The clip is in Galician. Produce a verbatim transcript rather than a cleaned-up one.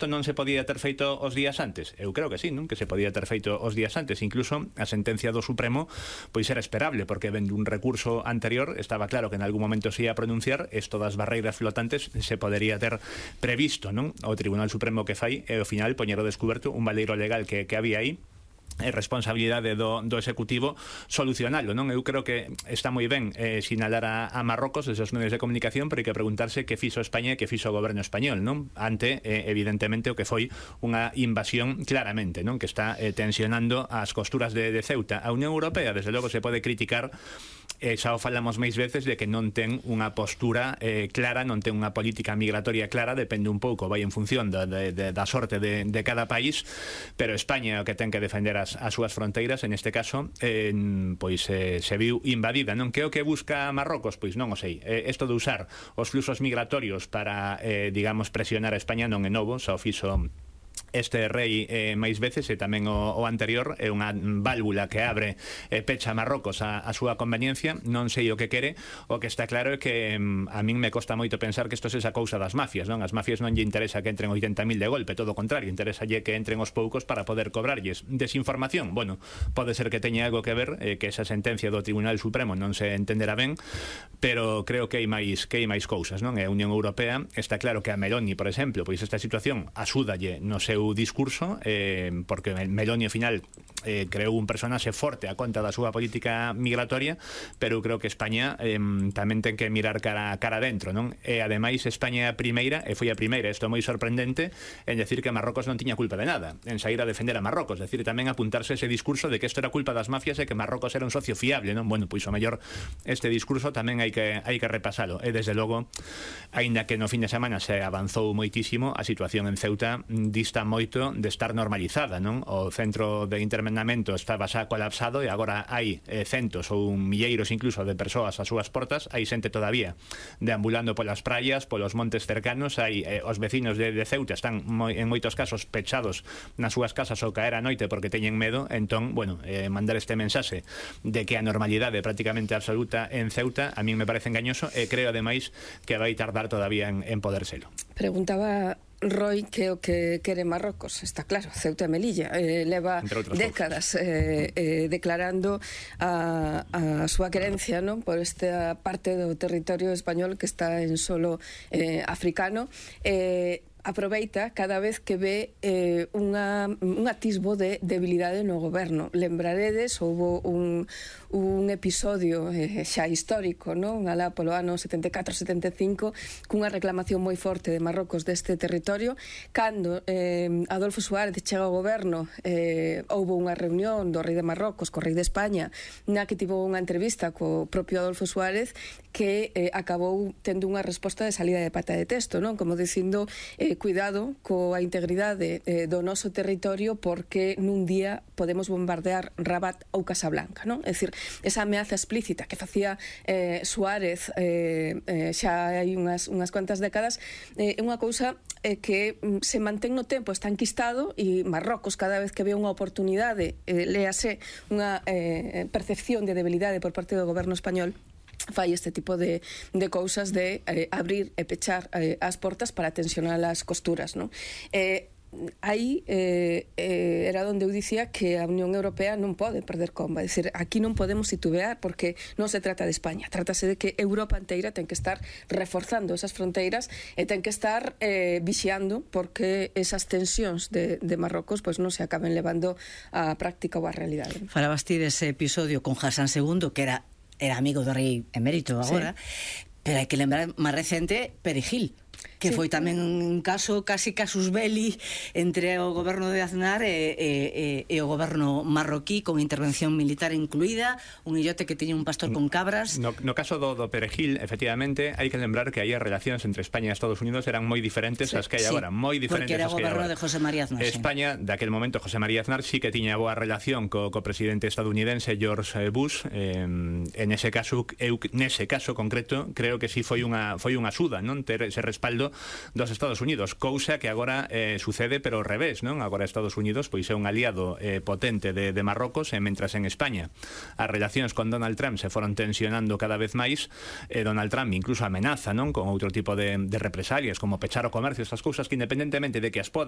isto non se podía ter feito os días antes? Eu creo que sí, non? Que se podía ter feito os días antes. Incluso a sentencia do Supremo pois era esperable, porque vendo un recurso anterior estaba claro que en algún momento se ia a pronunciar, esto das barreiras flotantes se podería ter previsto, non? O Tribunal Supremo que fai e ao final poñer ao descoberto un baleiro legal que, que había aí, é responsabilidade do, do Executivo solucionalo, non? Eu creo que está moi ben eh, sinalar a, a Marrocos desde os medios de comunicación, pero hai que preguntarse que fixo España e que fixo o goberno español, non? Ante, eh, evidentemente, o que foi unha invasión claramente, non? Que está eh, tensionando as costuras de, de Ceuta. A Unión Europea, desde logo, se pode criticar, eh, xa o falamos máis veces, de que non ten unha postura eh, clara, non ten unha política migratoria clara, depende un pouco, vai en función da, de, de, da sorte de, de cada país, pero España o que ten que defender as, as súas fronteiras, en este caso, eh, pois eh, se viu invadida, non? Que o que busca Marrocos? Pois non o sei. Eh, esto de usar os fluxos migratorios para, eh, digamos, presionar a España non é novo, xa o fixo este rei eh, máis veces, e tamén o, o anterior, é unha válvula que abre e eh, pecha a Marrocos a, a súa conveniencia. Non sei o que quere. O que está claro é que mm, a min me costa moito pensar que isto se esa cousa das mafias, non? As mafias non lle interesa que entren oitenta mil de golpe, todo o contrario, interesalle que entren os poucos para poder cobrarlles. Desinformación, bueno, pode ser que teña algo que ver, eh, que esa sentencia do Tribunal Supremo non se entenderá ben, pero creo que hai máis que hai máis cousas, non? E a Unión Europea, está claro que a Meloni, por exemplo, pois esta situación axúdalle no seu discurso, eh, porque Meloni ao final eh, creou un personaxe forte a conta da súa política migratoria, pero eu creo que España eh, tamén ten que mirar cara, cara dentro, non? E ademais España é a primeira, e foi a primeira, isto é moi sorprendente, en decir que Marrocos non tiña culpa de nada, en sair a defender a Marrocos, é dicir, tamén apuntarse ese discurso de que isto era culpa das mafias e que Marrocos era un socio fiable, non? Bueno, pois o mellor este discurso tamén hai que hai que repasalo, e desde logo, aínda que no fin de semana se avanzou moitísimo, a situación en Ceuta dista moito de estar normalizada, non? O centro de internamento estaba xa colapsado e agora hai eh, centos ou milleiros incluso de persoas ás súas portas, hai xente todavía deambulando polas praias, polos montes cercanos, hai eh, os vecinos de, de Ceuta están moi, en moitos casos pechados nas súas casas ao caer a noite porque teñen medo. Entón, bueno, eh, mandar este mensaxe de que a normalidade é prácticamente absoluta en Ceuta a min me parece engañoso, e creo ademais que vai tardar todavía en, en poder selo. Preguntaba Roy que o que quere Marrocos, está claro, Ceuta e Melilla, eh, leva décadas eh, eh, declarando a, a súa querencia, non, por esta parte do territorio español que está en solo eh, africano. eh, aproveita cada vez que ve eh, unha, un atisbo de debilidade no goberno. Lembraredes, houve un, un episodio eh, xa histórico, non? Alá polo ano setenta e catro setenta e cinco, cunha reclamación moi forte de Marrocos deste territorio. Cando eh, Adolfo Suárez chega ao goberno, eh, houve unha reunión do rei de Marrocos co rei de España, na que tivo unha entrevista co propio Adolfo Suárez, que eh, acabou tendo unha resposta de salida de pata de testo, non? Como dicindo, eh, cuidado coa integridade eh, do noso territorio, porque nun día podemos bombardear Rabat ou Casablanca, non? É dicir, esa ameaza explícita que facía eh, Suárez eh, eh, xa hai unhas, unhas cuantas décadas, é eh, unha cousa eh, que mm, se mantén no tempo, está enquistado, e Marrocos cada vez que ve unha oportunidade, eh, léase unha eh, percepción de debilidade por parte do goberno español, fai este tipo de, de cousas de eh, abrir e pechar eh, as portas para tensionar as costuras, non? Eh, aí eh, eh, era onde eu dicía que a Unión Europea non pode perder comba, é dicir, aquí non podemos titubear, porque non se trata de España, trátase de que Europa inteira ten que estar reforzando esas fronteiras e ten que estar eh, vixiando porque esas tensións de, de Marrocos pois non se acaben levando á práctica ou á realidade. Falabas ti dese episodio con Hassan segundo, que era era amigo do rei emérito agora, sí. Pero hai que lembrar máis recente Perejil, que sí, foi tamén un caso casi casus belli entre o goberno de Aznar e, e, e o goberno marroquí, con intervención militar incluída, un illote que tiña un pastor con cabras. No, no caso do, do Perejil, efectivamente, hai que lembrar que aí as relacións entre España e Estados Unidos eran moi diferentes sí, ás que hai sí, agora, moi diferentes. Porque era o goberno de José María Aznar. España, sí. Daquel momento, José María Aznar sí que tiña boa relación co, co presidente estadounidense George Bush. Eh, en ese caso, eu nese caso concreto, creo que sí foi unha foi unha axuda, non, ter ese respaldo dos Estados Unidos, cousa que agora eh, sucede pero ao revés, non? Agora Estados Unidos pois é un aliado eh, potente de, de Marrocos, e mentras en España as relacións con Donald Trump se foron tensionando cada vez máis, eh, Donald Trump incluso amenaza, non, con outro tipo de, de represalias, como pechar o comercio, estas cousas que independentemente de que as poda